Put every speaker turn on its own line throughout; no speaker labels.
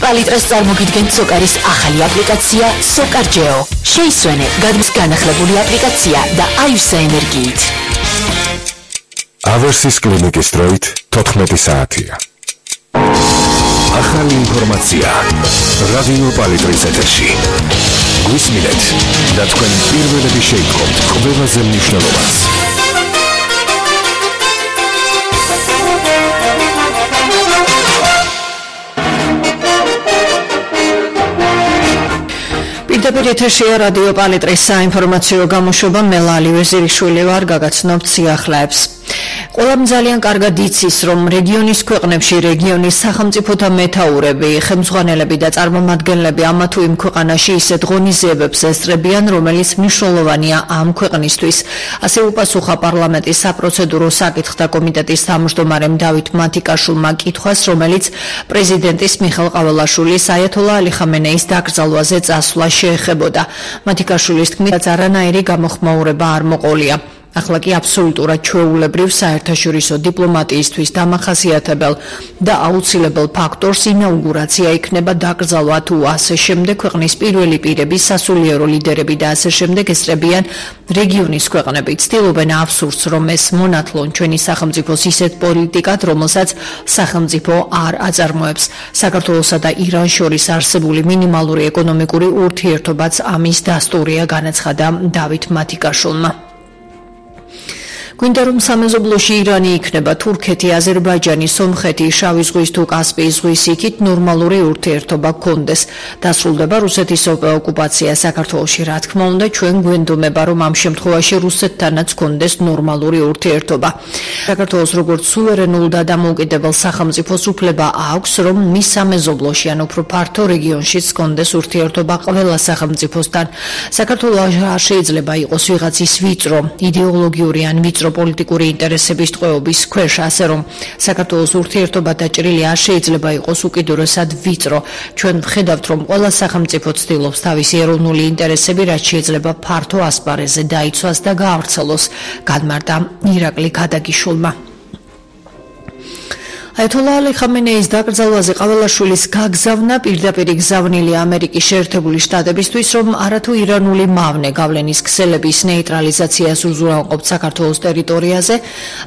პალიტრას წარმოგიდგენთ სოკარის ახალი აპლიკაცია SokarGeo. შეისვენე გადმის განახლებული აპლიკაცია და აივსა ენერგიით.
ავერსის კლინიკის დროით 14 საათია. ახალი ინფორმაცია რადიო პალიტრის ეთერში. გვისმინეთ და თქვენ პირველები შეიტყობთ ყველაზე მნიშვნელოვანს.
პირდაპირ ეთერშია რადიო პალიტრის საინფორმაციო გამოშვება, მე ლალი ვეზირიშვილი ვარ, გაგაცნობთ სიახლეებს. ყველამ ძალიან კარგად იცის, რომ რეგიონის ქვეყნებში რეგიონის სახელმწიფოთა მეთაურები, ხელმძღვანელები და წარმომადგენლები ამა თუ იმ ქვეყანაში ისეთ ღონისძიებებს ესწრებიან, რომელიც მნიშვნელოვანია ამ ქვეყნისთვის. ასე უპასუხა პარლამენტის საპროცედურო საკითხთა კომიტეტის თავმჯდომარემ დავით მათიკაშვილმა კითხვას, რომელიც პრეზიდენტის მიხეილ ყაველაშვილის აიათოლა ალი ხამენეის დაკრძალვაზე წასვლა შეეხებოდა. მათიკაშვილის თქმით, არანაირი გამოხმაურება არ მოყოლია. ახლა კი აბსოლუტურად ჩვეულებრივ საერთაშორისო დიპლომატიისთვის დამახასიათებელ და აუცილებელ ფაქტორს ინაუგურაცია იქნება, დაკრძალვა თუ ასე შემდეგ ქვეყნის პირველი პირები, სასულიერო ლიდერები და ასე შემდეგ ესწრებიან რეგიონის ქვეყნები. ცდილობენ აბსურდს, რომ ეს მონათლონ ჩვენი სახელმწიფოს ისეთ პოლიტიკად, რომელსაც სახელმწიფო არ აწარმოებს. საქართველოსა და ირანს შორის არსებული მინიმალური ეკონომიკური ურთიერთობაც ამის დასტურია, განაცხადა დავით მათიკაშვილმა. გვინდა რომ სამეზობლოში ირანი იქნება თურქეთი, აზერბაიჯანი, სომხეთი, შავი ზღვის თუ კასპიის ზღვის იქით ნორმალური ურთიერთობა გქონდეს. დასრულდება რუსეთის ოკუპაცია საქართველოში, რა თქმა უნდა, ჩვენ გვენდომება, რომ ამ შემთხვევაში რუსეთთანაც გქონდეს ნორმალური ურთიერთობა. საქართველოს როგორც სუვერენულ და დამოუკიდებელ სახელმწიფოს უფლება აქვს, რომ მის სამეზობლოში ან უფრო ფართო რეგიონშიც გქონდეს ურთიერთობა ყველა სახელმწიფოსთან. საქართველოს არ შეიძლება იყოს ვიღაცის ვიწრო იდეოლოგიური ან ვიწრო პოლიტიკური ინტერესების ტყვეობის ქვეშ, ასე რომ საქართველოს ურთიერთობა დაჭრილი არ შეიძლება იყოს უკიდურესად ვიწრო. ჩვენ ვხედავთ, რომ ყველა სახელმწიფო ცდილობს თავისი ეროვნული ინტერესები, რაც შეიძლება ფართო ასპარეზზე დაიცვას და გაავრცელოს, განმარტა ირაკლი ქადაგიშვილმა. აიათოლა ალი ხამენეის დაკრძალვაზე ყაველაშვილის გაგზავნა პირდაპირ გზავნილი ამერიკის შეერთებული შტატებისთვის, რომ არათუ ირანული მავნე გავლენის ქსელების ნეიტრალიზაციას უზრუნველყოფს საქართველოს ტერიტორიაზე,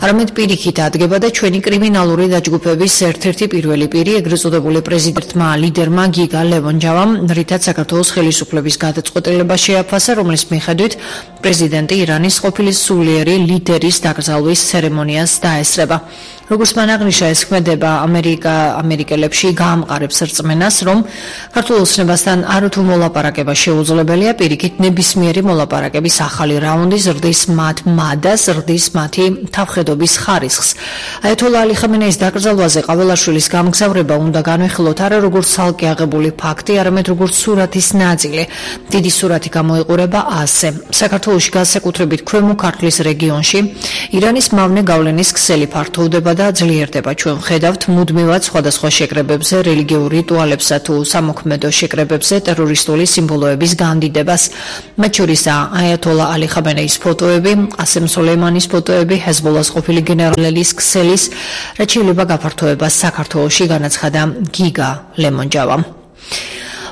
არამედ პირიქით ადგება და ჩვენი კრიმინალური დაჯგუფების ერთ-ერთი პირველი პირი, ეგრეთ წოდებული პრეზიდენტმა ლიდერმა გიგა ლევონჯავამ, რითაც საქართველოს ხელისუფლების გადაწყვეტილება შეაფასა, რომლის მიხედვით პრეზიდენტი ირანის ყოფილი სულიერი ლიდერის დაკრძალვის ცერემონიას დაესწრება. როგორც მან აღნიშნა, ეს ქმედება ამერიკელებში გაამყარებს რწმენას, რომ ქართულ ოცნებასთან არათუ მოლაპარაკება შეუძლებელია, პირიქით ნებისმიერი მოლაპარაკების ახალი რაუნდი ზრდის მათ მადას, ზრდის მათი თავხედობის ხარისხს. აიათოლა ალი ხამენეის დაკრძალვაზე ყაველაშვილის გამგზავრება უნდა განვიხილოთ არა როგორც ცალკე აღებული ფაქტი, არამედ როგორც სურათის ნაწილი. დიდი სურათი გამოიყურება ასე. საქართველოში განსაკუთრებით ქვემო ქართლის რეგიონში ირანის მავნე გავლენის ქსელი ფართოვდება და ძლიერდება. ჩვენ ვხედავთ მუდმივად სხვადასხვა შეკრებებზე, რელიგიურ რიტუალებსა თუ სამოქმედო შეკრებებზე ტერორისტული სიმბოლოების განდიდებას. მათ შორისაა აიათოლა ალი ხამენეის ფოტოები, ყასემ სოლეიმანის ფოტოები, ჰეზბოლას ყოფილი გენერალის ქსელის, რაც შეიძლება გაფართოებას საქართველოში, განაცხადა გიგა ლევონჯავამ.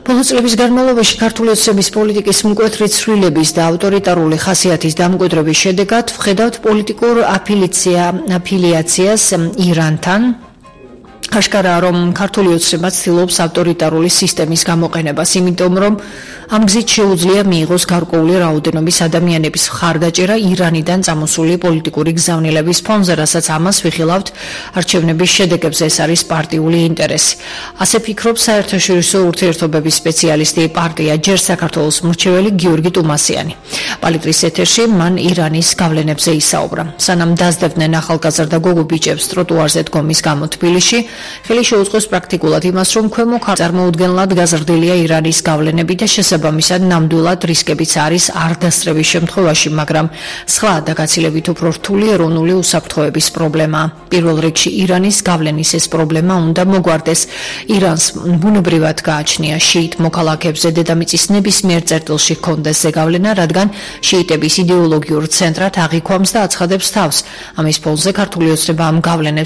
ბოლო წლების განმავლობაში ქართული ოცნების პოლიტიკის მკვეთრი ცვლილების და ავტორიტარული ხასიათის დამკვიდრების შედეგად ვხედავთ პოლიტიკურ აფილიაციას ირანთან. აშკარაა, რომ ქართული ოცნება ცდილობს ავტორიტარული სისტემის გამოყენებას, იმიტომ რომ ამ გზით შეუძლია მიიღოს გარკვეული რაოდენობის ადამიანების მხარდაჭერა ირანიდან წამოსული პოლიტიკური გზავნილების ფონზე, რასაც ამას ვიხილავთ არჩევნების შედეგებზე, ეს არის პარტიული ინტერესი. ასე ფიქრობს საერთაშორისო ურთიერთობების სპეციალისტი პარტია ჯერ საქართველოს მრჩეველი გიორგი ტუმასიანი. პალიტრის ეთერში მან ირანის გავლენებზე ისაუბრა. სანამ დასდევდნენ ახალგაზრდა გოგო ბიჭებს ტროტუარზე დგომის გამო თბილისში, ხელი შეუწყოს პრაქტიკულად იმას, რომ ქვემო ქართლ წარმოუდგენლად გაზრდილია ირანის გავლენები და შესაბამისად ნამდვილად რისკებიც არის არ დასწრების შემთხვევაში, მაგრამ სხვა და გაცილებით უფრო რთული ეროვნული უსაფრთხოების პრობლემაა. პირველ რიგში ირანის გავლენის ეს პრობლემა უნდა მოგვარდეს. ირანს ბუნებრივად გააჩნია შიიტ მოქალაქეებზე დედამიწის ნებისმიერ წერტილში ჰქონდეს ზეგავლენა, რადგან შიიტების იდეოლოგიურ ცენტრად აღიქვამს და აცხადებს თავს. ამის ფონზე ქართული ოცნება ამ გავლენებს